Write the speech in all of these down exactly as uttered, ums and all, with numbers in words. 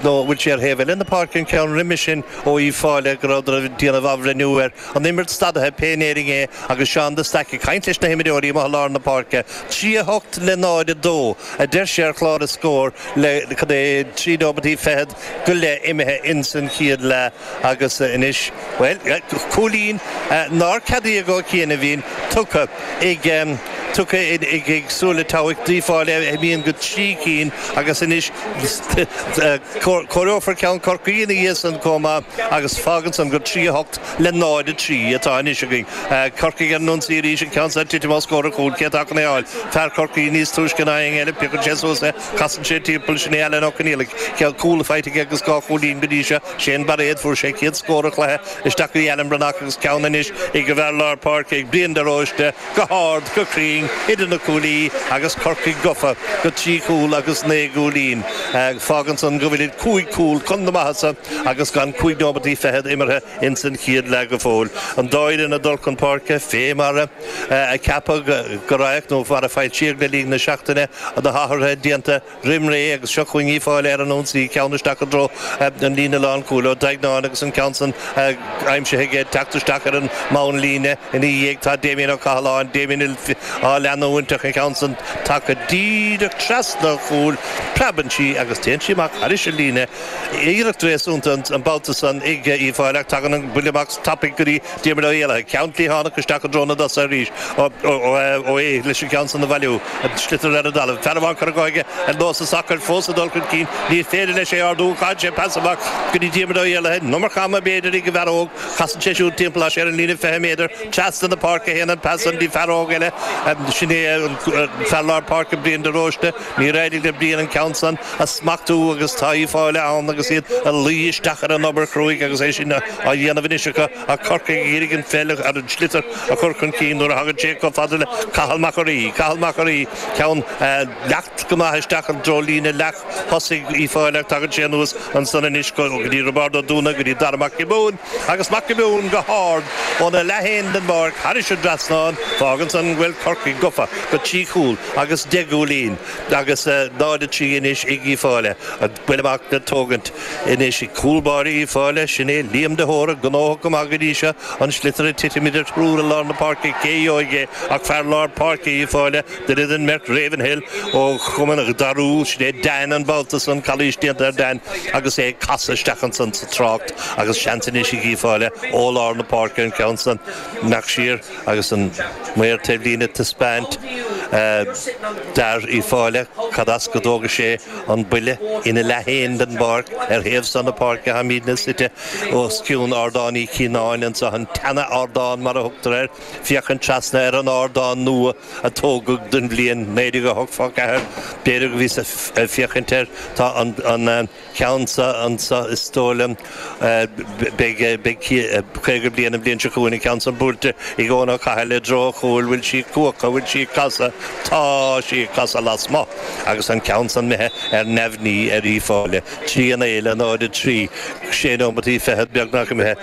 Nó bhfuil sé ar thaobh eile na páirce an ceann roimhe sin ó Uíbh Fhailí go rabhadar ag déanamh athbhreithniú ar an imirt stadaithe pé in Éirinn é agus Seán de Staic ag caint leis na himreoirí amuigh i lár na páirce. Trí a hocht le náid a dó a deir sé ar chlár na scór le cad é trí nóimeataí fichead go leith imithe ins an chéad leath agus anois, bhuel, cúilín nár ceadaíodh ó chianaibhín tugtha ag tugtha ag Súil le Todhchaí d'Uíbh Fhailí a imíonn go trí cinn agus anois comhaireofar ceann Chorcaí ina dhiaidh san chomh maith agus fágann san gur trí a hocht le náid a trí atá anois againn. Corcaigh ar an ionsaí arís, an ceann san ag titim os comhair an chúil, cé atá chun é a fháil? Fear Chorcaí níos túisce ná éinne eile, piocann sé suas é, casann sé timpeall, sin é Alan Ó Conaola, ceann cúl faighte aige agus dhá chúilín go dtí seo, Shane Bairéad, fuair sé chéad scór an chluiche isteach go dtí Alan Breathnach agus ceann anois ag an bhfear lár páirce ag Brian de Róiste, go hard, go cruinn, idir na cuaillí agus Corcaigh gafa go trí chúl agus naoi gcúilín. Fágann san go bhfuilid cúig chúl chun na maitheasa agus gan cúig nóimeataí fichead imeartha ins an chéad leath go fóill. An dá fhoireann ag dul chun páirce fé mar a ceapadh go raghadh nó mar a foilsíodh le linn na seachtaine, na hathruithe déanta roim ré agus seo chugainn Uíbh Fhailí ar an ionsaí, ceann isteach i dtreo an líne lánchúil Ó Duigneáin agus an ceann san aimsithe aige ag teacht isteach ar an mbonnlíne ina dhiaidh tá Damien Ó Cathaláin, Damien á leanúint ach an ceann san tagtha díreach trasna an chúil, preabann sí agus téann sí amach thairis an líne. Iarracht réasúnta an babhta san ag Uíbh Fhailí ach tagann an buille amach tapaidh go dtí Diarmuid Ó hÉallaithe. Ceann cliathánach isteach i dtreo na dtosaithe arís Ó hÉ leis an gceann san a bhailiú. An sliotar ar an dtalamh. Fear amháin curtha dhe aige ar nós an tsacair fós ag dul chun cinn. Ní féidir leis é a ardú. Caitheann sé pas amach go dtí Diarmuid Ó hÉallaithe. An iomarca ama b'fhéidir ag an bhfear óg. Casann sé siúd timpeall tá sé ar an líne fiche méadar. Trasna na páirce a théann an pas san go dtí fear óg eile. Sin é an fear lár páirce Brian de Róiste. Níor éirigh le Brian an ceann san a smachtú agus tá Uíbh Fhailí ann agus iad ag luí isteach ar an obair chruaidh agus é sin á dhéanamh anois acu ach Corcaigh ag iarraidh an pheil ar an sliotar a chur chun cinn nuair a thagann sé chomh fada le Cathal Mac an Rí. Cathal Mac an Rí, ceann leacht go maith isteach i dtreo líne leath thosaigh Uíbh Fhailí ach tagann sé anuas ansan anois go dtí Roibeárd Ó Dúna, go dtí Dara Mac Giobúin agus Mac Giobúin go hard óna leath féin den bpáirc thairis an dtrasnán. Fágann san go bhfuil Corcaigh gafa go trí chúl agus deich gcúilín agus náid a trí anois ag Uíbh Fhailí. An buille amach le tógaint anois ag cúl báire Uíbh Fhailí, sin é Liam de hÓra, gnóthach go maith go dtí seo, an sliotar ag titim idir triúr i lár na páirce, cé a gheobhaidh é ach fear lár páirce Uíbh Fhailí, duine den mbeirt Ravenhill ó Chumann Dharú, sin é Dan an babhta san, calaois déanta ar Dan agus é ag casadh isteach ansan sa trácht agus seans anois ag Uíbh Fhailí ó lár na páirce an ceann san amach siar agus an maor taobhlíne ag taispeáint d'fhear Uíbh Fhailí cad as go dtógfaidh sé an buille ina leath féin den bpáirc ar thaobh san na páirce táimidne suite os cionn Ardán Uí Chianáin anseo, an tseana-ardán mar a thugtar air, féachaint trasna ar an ardán nua a tógadh don bhliain naoi déag a hocht ponc ceathair. B'fhéidir go bhíos ag féachaint air, tá an ceann seo anseo is dóigh liom, beidh caoga bliain an bhliain seo chugainn, an ceann san buailte ag Eoin Ó Cathail i dtreo an chúil, bhfuil sí ag cuachadh, bhfuil sí ag casadh, tá sí ag casadh lasmuigh agus an ceann san imithe ar neamhní ar Uíbh Fhailí. Trí a naoi le náid a trí, sé nóimeataí fichead beagnach imithe.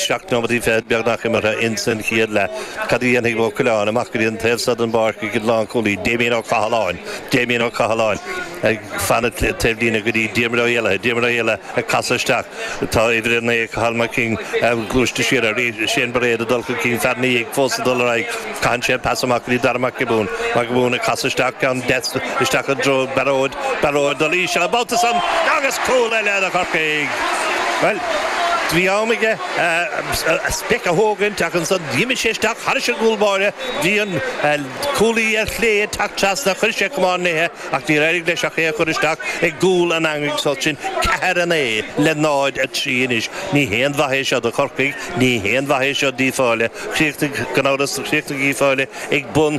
Seacht nóimeataí fichead beagnach imeartha ins an chéad leath. Cad a dhéanfaidh Ó Coileáin? Amach go dtí an taobh seo den bpáirc ag an lánchúlaí, Damien Ó Cathaláin. Damien Ó Cathaláin ag fanacht taobhlíne go dtí Diarmuid Ó hÉallaithe. Diarmuid Ó hÉallaithe ag casadh isteach. Tá uimhir a naoi, Cathal Mac King, gluaiste siar air. Shane Bairéad ag dul chun cinn, fear ina dhiaidh fós ag dul ar aghaidh. Caitheann sé an pas amach go dtí Dara Mac Giobúin. Mac Giobúin ag casadh isteach, ceann deas isteach i dtreo Bairéad. Bairéad dul íseal an babhta san agus cúl eile do Chorcaigh. Bhuel, bhí am aige a speic a thógaint ach ansan d'imigh sé isteach thairis an gcúl báire. Bhí an cúlaí ar chlé ag teacht trasna, chuir sé camán léithe ach níor éirigh leis ach é a chur isteach i gcúl an eangaigh so sin ceathair a naoi le náid a trí anois. Ní haon mhaith é seo do Chorcaigh, ní haon mhaith é seo d'Uíbh Fhailí. Chríochnaigh, gan amhras, chríochnaigh Uíbh Fhailí ag bun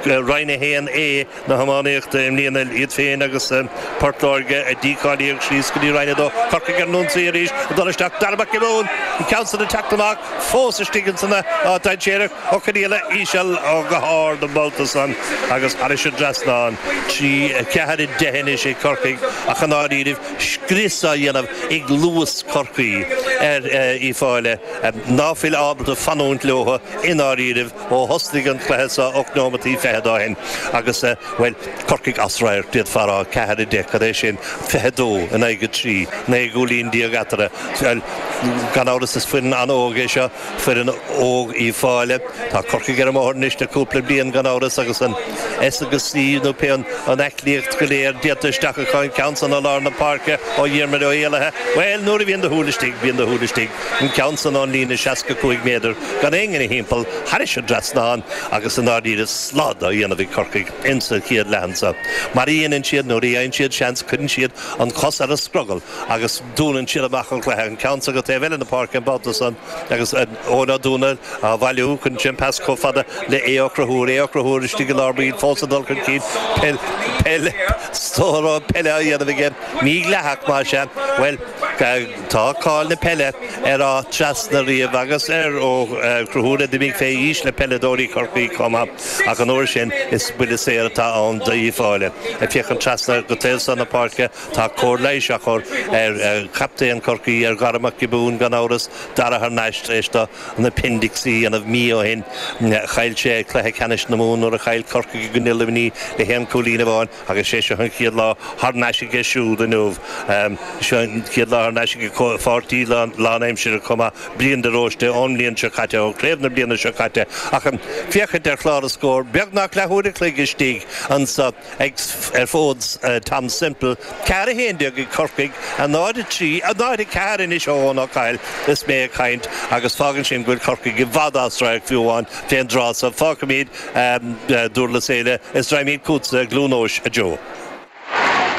Roinn a haon A. na hiománaíochta i mbliana iad féin agus Port Láirge a dícháilíodh síos go dtí Roinn a dó. Corcaigh ar an ionsaí arís ag dul isteach. Dara Mac Giobúin, an ceann san ag teacht amach fós istigh ansan dainséarach, Ó Conaola íseal ó go hard an babhta san agus thairis an dtrasnán. Trí ceathair a deich anois ag Corcaigh ach i ndáiríribh scrios á dhéanamh ag luas Chorcaí ar Uíbh Fhailí ná fuil ábalta fanúint leo i ndáiríribh ó thosnaigh an cluiche seo ocht nóimeataí fichead ó shin agus bhuel Corcaigh as radharc d'fhéadfá a rá ceathair a deich cad é sin fiche dó in aghaidh a trí naoi gcúilín déag eatarthu. Bhuel gan amhras is foireann an-óg é seo, foireann óg Uíbh Fhailí. Tá Corcaigh ar an mbóthar anois le cúpla bliain gan amhras agus an S agus C nó pé an aclaíocht go léir déanta isteach acu an ceann san i lár na páirce ó Dhiarmuid Ó Héalaithe. Bhuel nuair a bhíonn do shúil istigh bíonn do shúil istigh. An ceann san ón líne seasca cúig méadar gan éinne ina thimpeall thairis an dtrasnán agus i ndáiríre slad á dhéanamh ag Corcaigh insa chéad leath anso. Mar a dhéanann siad nuair a fhaigheann siad seans cuireann siad an chos ar an scrogall agus dúnann siad amach an cluiche an ceann san go taobh eile na páirce an babhta san agus Eoin Ó Dúnaill á bhailiú cuireann sé an pas chomh fada le Aodh Ó Conchúir, Aodh Ó Conchúir istigh i lár baill fós ag dul chun cinn peil peil stór peile á dhéanamh aige mídhleathach más ea bhuel tá cáil na peile ar Áth Trasna riamh agus ar Ó Conchúir a d'imigh fé aois le peileadóirí Chorcaí chomh maith ach an uair sin is buille saor atá ann d'Uíbh Fhailí. Ag féachaint trasna go taobh seo na páirce tá cóir leighis á chur ar chaptaen Chorcaí ar Dhara Mac Giobúin gan amhras Dara thar n-ais tar éis dó an appendix a dhéanamh mí ó shin. Chaill sé cluiche ceannais na Mumhan nuair a chaill Corcaigh i gcoinne Luimnigh le haon chúilín amháin agus sé seo an chéad lá thar n-ais aige siúd inniu. Seo an chéad lá thar n-ais aige pháirtí lánaimsire chomh maith Brian de Róiste ón mbliain seo caite ó chraobh na bliana seo caite ach féachaint ar chlár na scór beagnach leathuair a chloig istigh anso ag ar fód Tom Semple ceathair a haon déag ag Corcaigh a náid a trí a náid a ceathair anois ó Eoin Ó Cathail is mé ag caint agus fágann sin go bhfuil Corcaigh i bhfad as radharc fiú amháin fén dtráth so fágfaimid Durlas Éile is raghaimid chugatsa Glún Eois a Joe.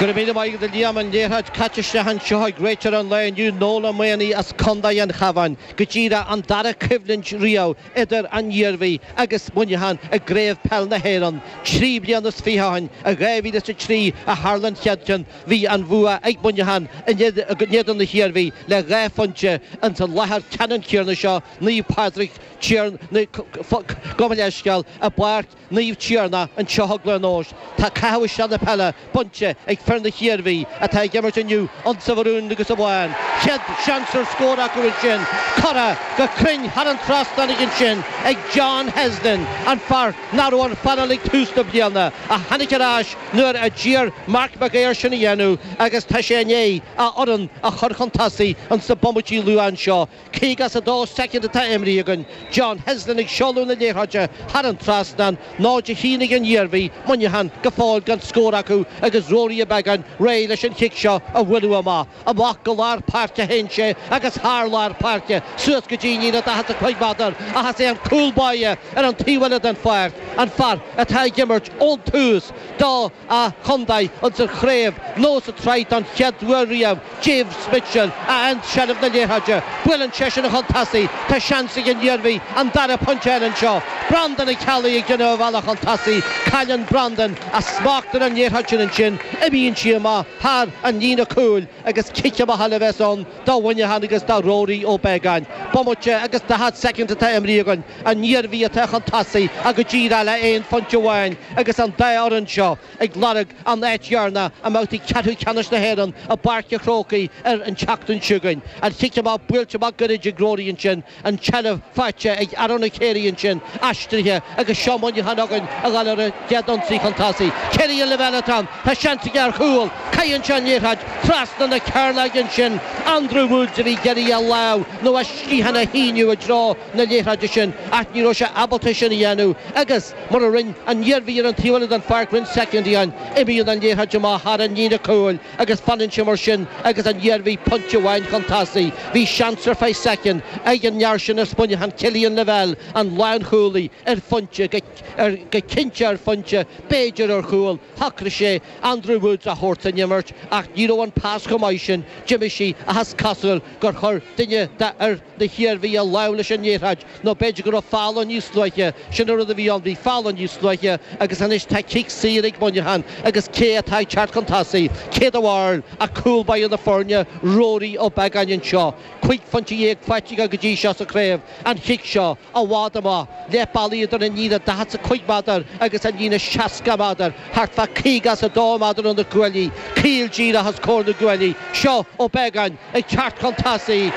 Go raibh míle maith agat a Liam an liathróid caite isteach anseo ag réiteoir an lae inniu Noel Maoney as Contae an Chabháin go díreach an dara coimhlint riamh idir an Iarmhí agus Muineachán i gCraobh Peil na hÉireann. Trí bliana is fiche ó shin i dhá mhíle is a trí a tharla an chéad cheann bhí an bhua ag Muineachán in éadan na hIarmhí le dhá phointe ins an láthair ceannann céanna seo Naomh Pádraig Gabh mo leithscéal i bPáirc Naomh Tiarnach anseo i gCluain Eois. Tá caitheamh isteach na peile bainte ag fir na hIarmhí atá ag imirt inniu ionsa mharún agus a bhán. Chéad seans ar scór acu ansin curtha go cruinn thar an trasnán ansin ag John Heslin an fear nach raibh ar phainéal ag tús na bliana a tháinig ar ais nuair a d'iarr Mark McGuire sin a dhéanamh agus tá sé i ndiaidh a fhoireann a chur chun tosaigh ins na bomaití luatha anseo. Caoga is a dó soicind atá imrithe againn. John Heslin ag seoladh na liathróide thar an trasnán, náid a haon ag an Iarmhí, Muineachán go fóill gan scór acu agus Ruairí Ó Beagáin réidh leis an chic seo a bhualadh amach. Amach go lár páirce a théann sé agus thar lár páirce suas go dtí an líne daichead a cúig méadar ach is é an cúl báire ar an taobh eile den pháirc an fear atá ag imirt ón tús do a chontae ins an chraobh nó sa tsraith don chéad uair riamh James Mitchell a fhaigheann seilbh na liathróide. Buaileann seisean chun tosaigh, tá seans ag an Iarmhí an dara pointe eile anseo. Breandán Ó Ceallaigh ag déanamh a bhealach chun tosaigh, cailleann Breandán a smacht ar an liathróid sin ansin, imíonn sí amach thar an líne cúil agus cic amach eile a bheas ann do Mhuineachán agus do Ruairí Ó Beagáin. Bomaite agus daichead soicind atá imrithe againn, an Iarmhí atá chun tosaigh ach go díreach le aon phointe amháin agus an dá fhoireann seo ag lorg an áit dheireanach i mbabhtaí ceathrú ceannais na hÉireann i bPáirc an Chrócaigh ar an tseachtain seo chugainn. An chic amach buailte amach gairid ag Ruairí ansin, an tseilbh faighte ag Aaron Ó Cléirigh ansin, aistrithe agus seo Muineachán againn ag dul ar a gcéad ionsaí chun tosaigh. Cillian Lavelle atá ann, tá seans aige ar chúl, caitheann sé an liathróid trasna na cearnóige ansin, Andrew Woods a bhí ag iarraidh a lámh nó a sciathán a shíneadh i dtreo na liathróide sin ach ní raibh sé ábalta sin a dhéanamh agus mar a rinne an Iarmhí ar an taobh eile den pháirc roinnt soicindí ó shin, imíonn an liathróid amach thar an líne cúil agus fanann sé mar sin agus an Iarmhí pointe amháin chun tosaigh. Bhí seans ar feadh soicind ag an fhear sin as Muineachán, Cillian Lavelle, an lánchúlaí, ar phointe, go cinnte ar phointe, b'fhéidir ar chúl. Shocraigh sé Andrew Woods a thabhairt san imirt. imirt ach ní raibh an pas chomh maith sin, d'imigh sí ach is cosúil gur chuir duine d'fhir na hIarmhí a lámh leis an liathróid nó b'fhéidir go raibh foul ann níos luaithe, sin an rud a bhí ann, bhí foul ann níos luaithe agus anois tá cic saor ag Muineachán agus cé atá ag teacht chun tosaigh? Cé do bharúil ach cúl báire na foirne, Rory Ó Beagáin anseo. Cúig phointe dhéag faighte aige go dtí seo sa chraobh, an chic seo i bhfad amach, leath bealaigh idir an líne daichead is a cúig méadar agus an líne seasca méadar, thart fá caoga is a dó méadar ó na cuaillí, caol díreach os comhair na gcuaillí. Seo Ó Beagáin ag teacht chun tosaigh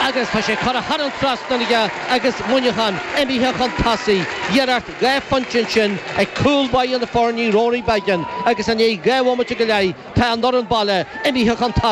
agus tá sé curtha thar an trasnán aige agus Muineachán imithe chun tosaigh. Iarracht dhá phointe ansin ag cúl báire na foirne Rory Beggan agus i ndiaidh dhá bhomaite go leith tá an fhoireann baile imithe chun tosaigh.